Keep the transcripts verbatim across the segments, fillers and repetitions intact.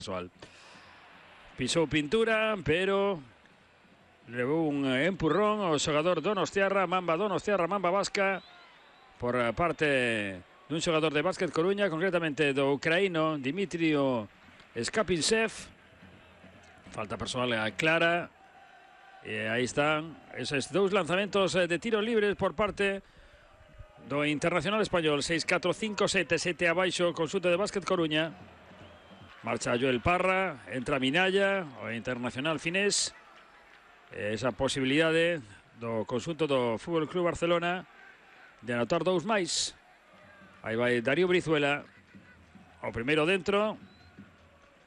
casual. Pisou pintura, pero levou un empurrón ao xogador donostiarra, Mamba Donostiarra, Mamba Vasca, por parte dun xogador de Básquet Coruña, concretamente do ucraíno Dimitrio Skapinsev. Falta personal clara. E aí están esos dous lanzamentos de tiros libres por parte do Internacional Español. seis catro cinco sete sete abaixo, consulta de Básquet Coruña. Marcha Joel Parra, entra Minaya, o Internacional finés. Esa posibilidade do consulto do Fútbol Club Barcelona de anotar dous máis. Aí vai Darío Brizuela, o primeiro dentro.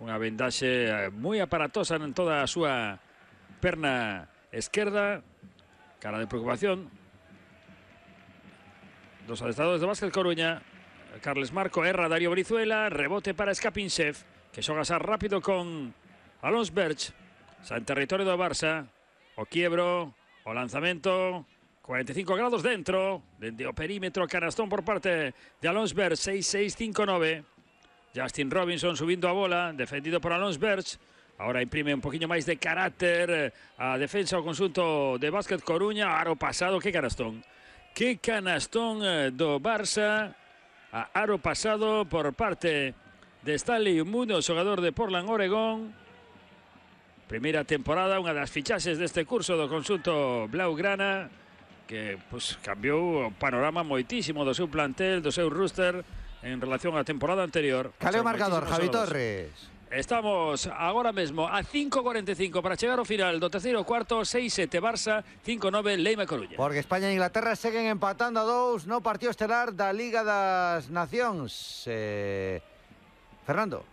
Unha vendaxe moi aparatosa en toda a súa perna esquerda. Cara de preocupación dos adestradores de Básquet Coruña. Carles Marco erra Darío Brizuela, rebote para Skapinsev, que xoga xa rápido con Alons Berch, xa en territorio do Barça. O quiebro, o lanzamento, cuarenta e cinco grados dentro, dende o perímetro, canastón por parte de Alons Berch, seis seis cinco nove. Justin Robinson subindo a bola, defendido por Alons Berch. Ahora imprime un poquinho máis de carácter a defensa o consunto de Básquet Coruña. Aro pasado, que canastón. Que canastón do Barça. A aro pasado por parte de Stanley Umuno, xogador de Portland, Oregón. Primeira temporada, unha das fichaxes deste curso do consunto blaugrana, que pues, cambiou o panorama moitísimo do seu plantel, do seu roster en relación á temporada anterior. Caleo marcador, Javi Torres. Estamos agora mesmo a cinco cuarenta e cinco para chegar ao final do terceiro cuarto. Seis sete Barça, cinco nove Leima Coruña. Porque España e Inglaterra seguen empatando a dous no partido estelar da Liga das Nacións. Eh... Fernando.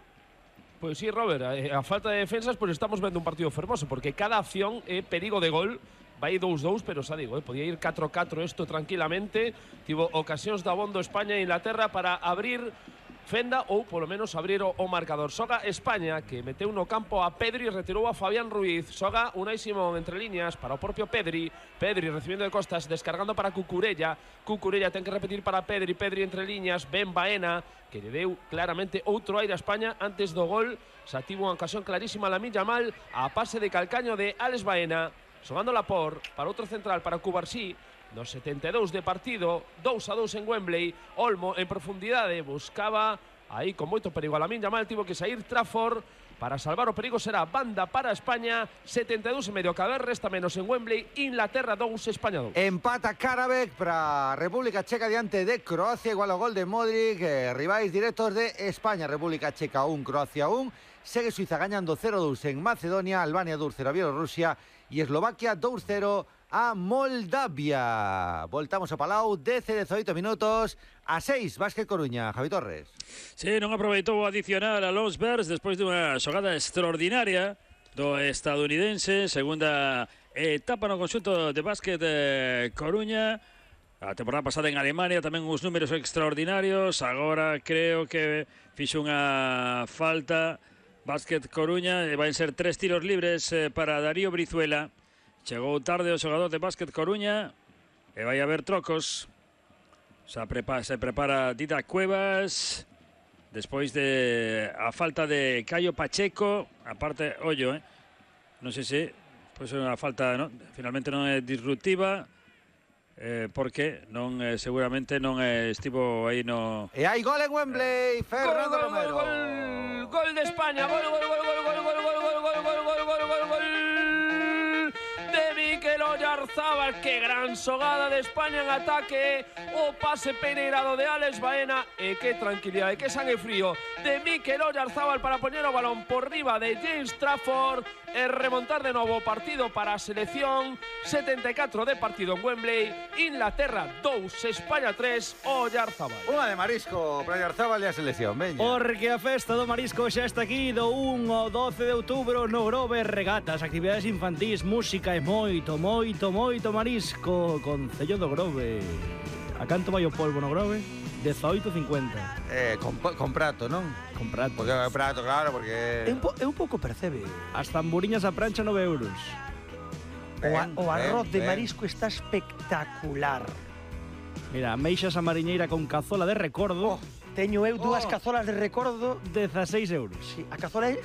Pois sí, Robert, a falta de defensas, pois estamos vendo un partido fermoso, porque cada acción é perigo de gol. Vai dous dous, pero xa digo, eh, podía ir catro catro isto tranquilamente. Tivo ocasións da bondo España e Inglaterra para abrir fenda ou polo menos abrir o, o marcador. Xoga España, que meteu no campo a Pedri e retirou a Fabián Ruiz. Xoga Unai Simón entre líneas para o propio Pedri. Pedri recibindo de costas, descargando para Cucurella. Cucurella ten que repetir para Pedri. Pedri entre líneas, Ben Baena, que lle deu claramente outro aire a España antes do gol. Xa tivo unha ocasión clarísima a Lamine Yamal, a pase de calcaño de Alex Baena. Xogando Laporte para outro central, para Cubarsí. No setenta e dous de partido, dous a dous en Wembley. Olmo en profundidade buscaba aí con moito perigo a Lamine Yamal, tivo que sair Trafford para salvar o perigo. Será banda para España, setenta e dous e medio, cada vez resta menos en Wembley. Inglaterra dous, España dous. Empata Karabek para República Checa diante de Croacia, igual o gol de Modric. eh, rivais directos de España. República Checa un, Croacia un. Segue Suiza gañando cero dous en Macedonia, Albania dous cero a Bielorrusia e Eslovaquia dous cero a Moldavia. Voltamos a Palau, dez e dezoito minutos, a seis, Básquet Coruña. Javi Torres. Sí, non aproveitou o adicional a Alons Berch despois dunha xogada extraordinaria do estadounidense. Segunda etapa no conxunto de Básquet eh, Coruña. A temporada pasada en Alemania tamén uns números extraordinarios. Agora creo que fixo unha falta Básquet Coruña, e van ser tres tiros libres eh, para Darío Brizuela. Chegou tarde o xogador de Básquet Coruña e vai haber trocos. Se prepara, se prepara Dida Cuevas despois de a falta de Caio Pacheco. Aparte, ollo, eh? non sei se pois é unha falta, non? Finalmente non é disruptiva. Eh, porque non eh, seguramente non eh, estivo aí no... E hai gol en Wembley, Fernando gol, Romero. Gol, gol, gol de España, gol, gol, gol, gol, gol, gol, gol, gol, gol, gol, gol, gol, gol, gol de Mikel Oyarzábal. Que gran xogada de España en ataque. O pase peneirado de Alex Baena. E que tranquilidade, que sangue frío de Mikel Oyarzábal para poñer o balón por riba de James Trafford e remontar de novo o partido para a selección. setenta e catro de partido en Wembley. Inglaterra dous, España tres. Oyarzábal. Unha de marisco para Oyarzábal e a selección, veña. Porque a festa do marisco xa está aquí do un ao doce de outubro no Grove. Regatas, actividades infantís, música e moito, moito, moito marisco. Concello do Grove. A canto vai o polvo no Grove? dezoito cincuenta. Eh, con, con prato, non? Con prato. Porque é prato, claro, porque... É un, po, é un pouco percebe. As tamburiñas a prancha nove euros. O, a, o arroz ben, de ben. marisco está espectacular. Mira, meixas a mariñeira con cazola de recordo. Oh. Teño eu dúas Oh. cazolas de recordo. dezaseis euros. Sí, a cazola é